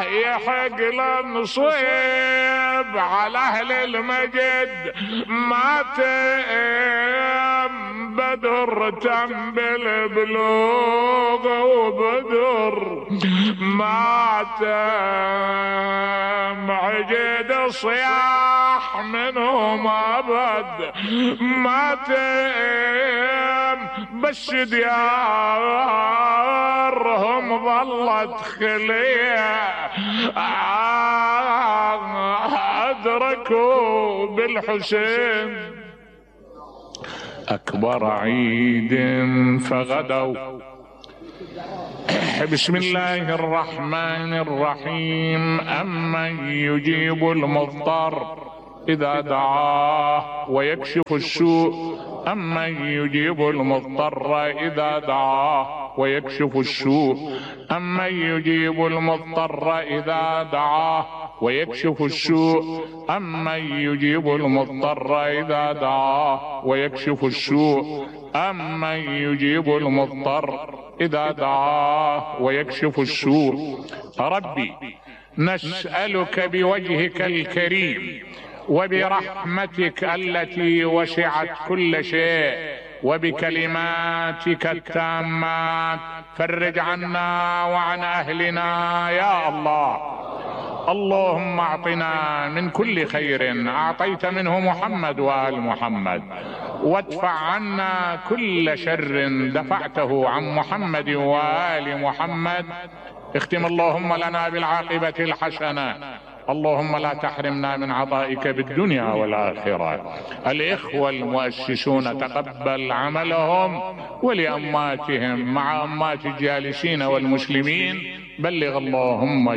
يحق للنصيب على اهل المجد ما تم بدر تم بالبلوغ وبدر ما تم عجد صياح منهم ابد ما تم بس ديارهم ظلت خليه أدركوا بالحسين أكبر عيد فغدوا. بسم الله الرحمن الرحيم. أمن يجيب المضطر إذا دعاه ويكشف السوء أمن يجيب المضطر إذا دعاه ويكشف السوء أمن يجيب المضطر إذا دعاه ويكشف السوء أمن يجيب المضطر إذا دعاه ويكشف السوء أمن يجيب المضطر إذا دعاه ويكشف السوء. ربي نسألك بوجهك الكريم وبرحمتك التي وسعت كل شيء وبكلماتك التامات فرج عنا وعن أهلنا يا الله. اللهم اعطنا من كل خير اعطيت منه محمد وآل محمد وادفع عنا كل شر دفعته عن محمد وآل محمد. اختم اللهم لنا بالعاقبة الحسنة. اللهم لا تحرمنا من عطائك بالدنيا والآخرة. الإخوة المؤسسون تقبل عملهم ولأماتهم مع أمات الجالسين والمسلمين بلغ اللهم